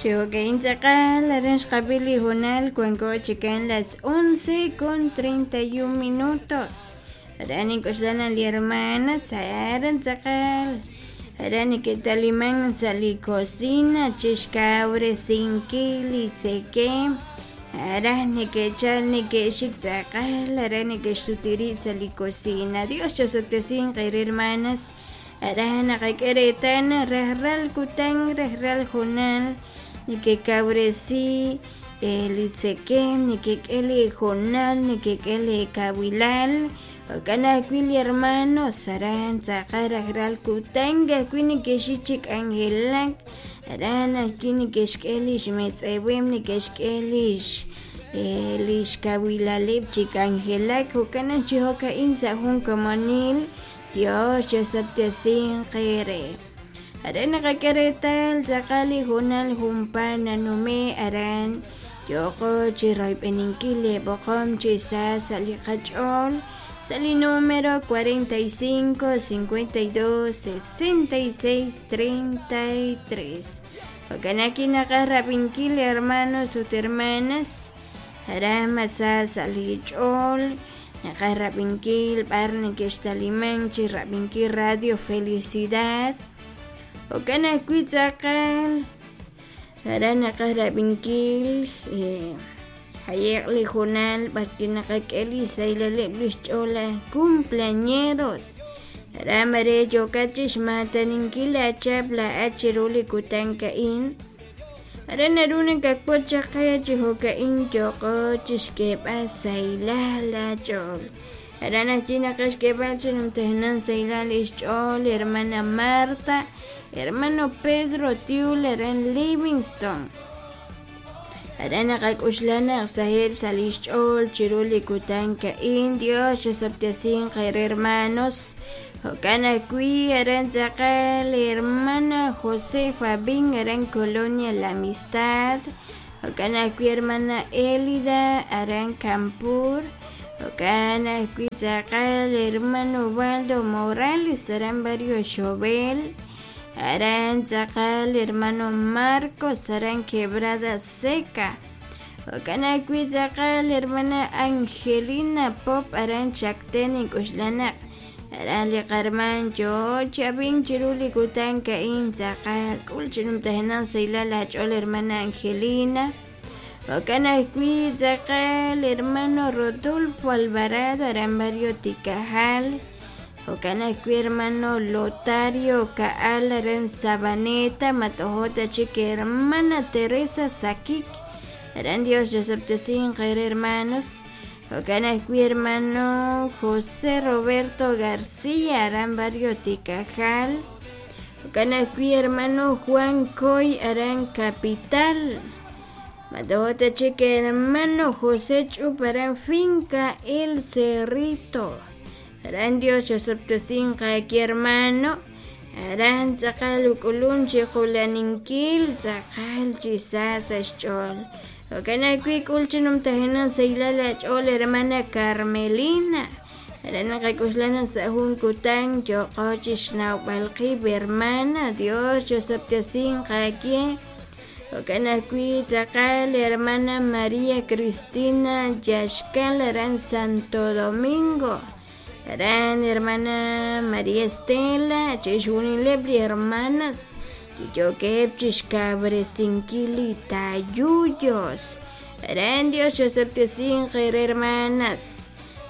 Chi jo'ka'in tz'aqal aran xqab'i li hoonal wanko chikan las 11:31 minutos. Aran nink'oxla naq li hermanas aran tz'aqal aran neke'taliman sa' li cocina chixkawresinkil li tzekem aran neke'chal neke'xik tz'aqal aran neke'xsuti rib' sa' li cocina. Dios chosob'tesinq eere hermanas aran naqak'e reetal naq rajlal kutan rajlal hoonal nekekawresi li tzekem nekek'e li hoonal nekek'e li kawilal jo'kan ajwi' li hermanos aran tz'aqal rajlal kutan ka'ajwi' neke'xik chi k'anjelak aran ajwi' neke'xk'e lix metz'eweb' neke'xk'e lix lix kawilaleb' chi k'anjelak jo'kan naq chi jo'ka'in sa' jun komonil Dios chosob'tesinq eere. Aran naqak'e reetal tz'aqal li hoonal junpaat nanume' aran yooqo chi royb'eninkil li b'oqom chi sa sa' li qach'ool sa' li número 45 52 66 33. Jo'kan naq naqaj rab'inkil hermanos ut hermanas aran mas sa sa' li ch'ool naqaj rab'inkil b'ar neke'xtaliman chi rab'inkil Radio Felicidad jo'kan ajwi' tz'aqal aran naqaj rab'inkil jaye'q li hoonal b'arwi' naqak'e li xsahilaleb' li xch'ool laj cumpleañeros aran mare yookat chixmaataninkil laachap laa'at chiru li kutan ka'in aran naru nakawotz chaq qe chi jo'ka'in yooqo chixk'eeb'al sahilal laach'ool aran ajwi' naqaj xk'eeb'al chi numtajenaq sahilal li xch'ool hermana Marta hermano Pedro Tiul aran Livingston aran naqak'oxla naq saheb' sa' li xch'ool chiru li kutan ka'in Dios chosob'tesinq eere hermanos jo'kan ajwi' aran tz'aqal hermana Josefa Bin aran Colonia La Amistad jo'kan ajwi' hermana Elida aran Campur jo'kan ajwi' tz'aqal hermano Waldo Morales aran Barrio Xovel aran tz'aqal hermano Marcos aran Quebrada Seca jo'kan ajwi' tz'aqal hermana Angelina Pop aran Chacten ink'oxla naq aran li qarman yoo chi ab'ink chiru li kutan ka'in tz'aqal k'ul chi numtajenaq sahilal laach'ool hermana Angelina jo'kan ajwi' tz'aqal hermano Rodolfo Alvarado aran Barrio Tikajal jo'kan ajwi' hermano Lotario Ka'al aran Sabaneta matojota chik hermana Teresa Sakik aran Dios chosob'tesinq eere hermanos jo'kan ajwi' hermano José Roberto García aran Barrio Tikajal jo'kan ajwi' hermano Juan Coy aran Capital matojota chik hermano José Ch'up aran Finca El Cerrito aran Dios chosob'tesinq aki hermano aran tz'aqal uk'ulum chi qulaninkil tz'aqal chi sa sa' xch'ool jo'kan ajwi' k'ul chi numtajenaq sahilal laach'ool hermana Carmelina aran naqak'oxla naq sa' jun kutan yooqo chixnawb'al qib' hermana Dios chosob'tesinq aawe jo'kan ajwi' tz'aqal hermana María Cristina Yaxkal aran Santo Domingo aran hermana María Estela chixjunileb' li hermanas li yookeb' chixkawresinkil li tayuyos aran Dios chosob'tesinq eere hermanas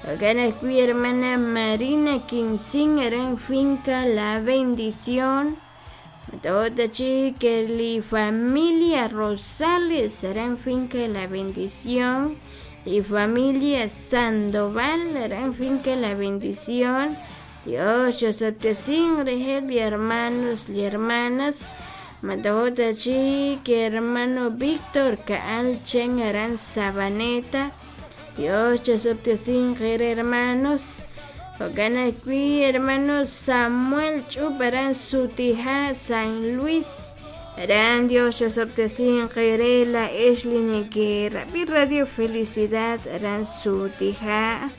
jo'kan ajwi' hermana Marina Quinzin aran Finca La Bendición Matojota chik li familia Rosales aran Finca La Bendición li familia Sandoval aran Finca La Bendición Dios chosob'tesinq reheb' li hermanos li hermanas matojota chik hermano Víctor Ka'al Chen aran Sabaneta Dios chosob'tesinq eere hermanos jo'kan ajwi' hermano Samuel Ch'up aran Sutija San Luis aran Dios chosob'tesinq eere laa'ex li neke'rab'i Radio Felicidad aran Sutija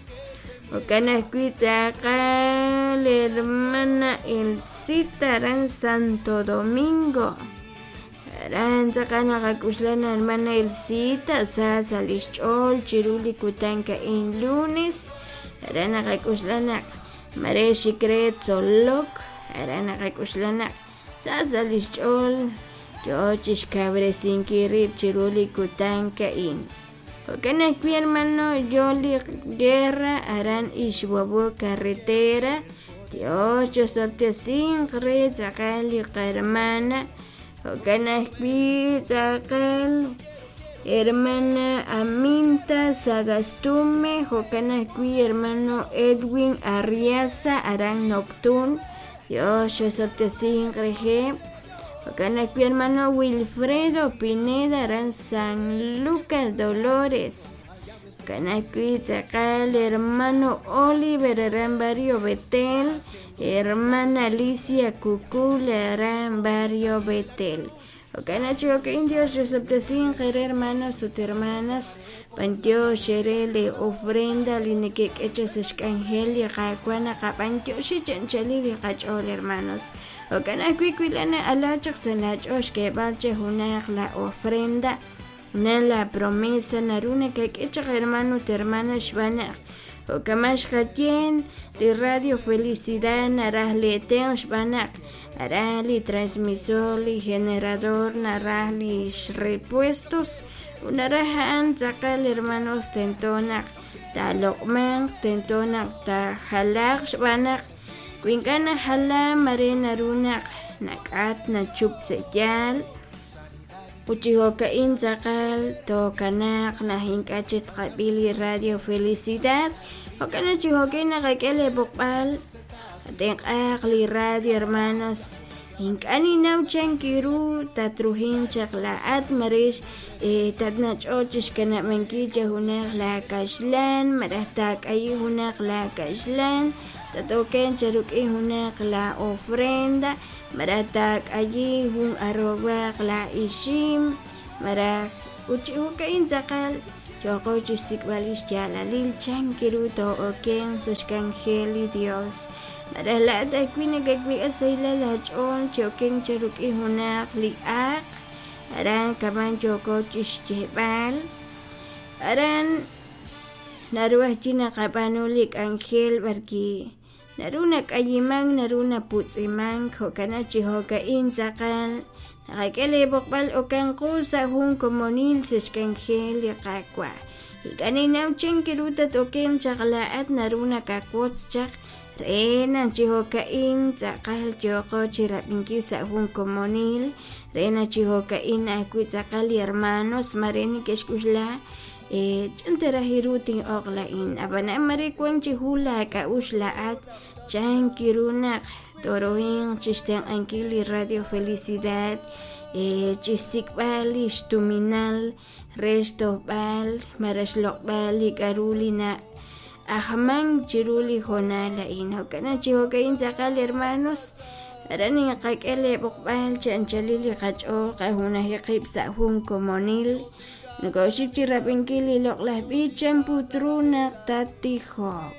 jo'kan ajwi' tz'aqal hermana Elcita aran Santo Domingo. Aran tz'aqal naqak'uxla na hermana Elsita sa sa' li xch'ool chiru li kutan a'in lunes. Aran naqak'uxla naq mare xik re tzolok. Aran naqak'uxla naq sa sa' li xch'ool yoo chixkawresinkil rib' chiru li kutan a'in. Jo'kan ajwi' hermano yoo li guerra aran Ixhuahuo carretera. Dios chosob'tesinq re tz'aqal li qahermana. Jo'kan ajwi' tz'aqal hermana Aminta Sagastume, jo'kan ajwi' hermano Edwin Arriaza aran Noctun. Dios chosob'tesinq reheb'. Jo'kan ajwi' hermano Wilfredo Pineda aran San Lucas Dolores. Jo'kan ajwi' tz'aqal hermano Oliver aran Barrio Betel, hermana Alicia Cucul aran Barrio Betel. Jo'kan chi jo'ka'in Dios chosob'tesinq eere hermanos ut hermanas, b'antiox eere li ofrenda li nekek'e chaq sa' xk'anjel li Qaawa' naqab'antioxi chi anchalil li qach'ool hermanos. Jo'kan ajwi' wi na'ala chaq sa' laach'ool xk'eeb'al che junaq la ofrenda, na la promesa naru nakak'e chaq hermano ut hermana xb'aan naq jo'kaman xqaye li Radio Felicidad naraj li tenq' xb'aan naq aran li transmisor, li generador naraj li repuestos ut naraj a'an tz'aqal hermanos tento naq taaloq'manq, tento naq taajalaaq xb'aan naq wi ink'a' najala mare naru naq nak'at nachup sa' yaal. Ut chi jo'ka'in tz'aqal tookanaaq naq ink'a' chik tqab'i li Radio Felicidad. Jo'kan naq chi jo'ka'in naqak'e li b'oqb'al tenq'aaq li radio hermanos. Ink'a' ninnaw chan ru tatruhin chaq laa'at mare tatnach'o chixkanab'ankil cha junaq la kaxlan malaj taak'ayi junaq la kaxlan tatoken cha rik'in junaq la ofrenda malaj taak'ayi jun arowaq la ixim malaj ut chi jo'ka'in tz'aqal yooqo chixsik'b'al li xyaalalil chan ru too'okenq sa' xk'anjel li Dios. Malaj laa'at ajwi' nakawik'a sahilal aach'ool chi okenk cha rik'in junaq li aaq aran kaman yooko chixyeeb'al aran naru ajwi' naqab'aanu li k'anjel b'arwi' naru nak'ayimank naru naputz'imank jo'kan naq chi jo'ka'in tz'aqal naqak'e li b'oqb'al okanqu sa' jun komonil sa' xk'anjel li Qaawa'. Ink'a' ninnaw chan ru tat-okenq chaq laa'at naru nakawotz chaq re naq chi jo'ka'in tz'aqal yooqo chirab'inkil sa' jun komonil re naq chi jo'ka'in ajwi' tz'aqal li hermanos mare neke'xk'uxla chan ta raj ru tin'oq la'in ab'anan mare wan chi jun laak'a'uxl laa'at chan ru naq torohinq chixtenq'ankil li Radio Felicidad chixsik'b'al li xtuminal re xtojb'al malaj xloq'b'al li k'a'ru li na'ajman chiru li hoonal a'in. Jo'kan naq chi jo'ka'in tz'aqal hermanos aran naqak'e li b'oqb'al chi anchalil li qach'ool qajunaji qib' sa' jun komonil nokoxik chirab'inkil li loq'laj b'ich chan put ru naq tattijoq.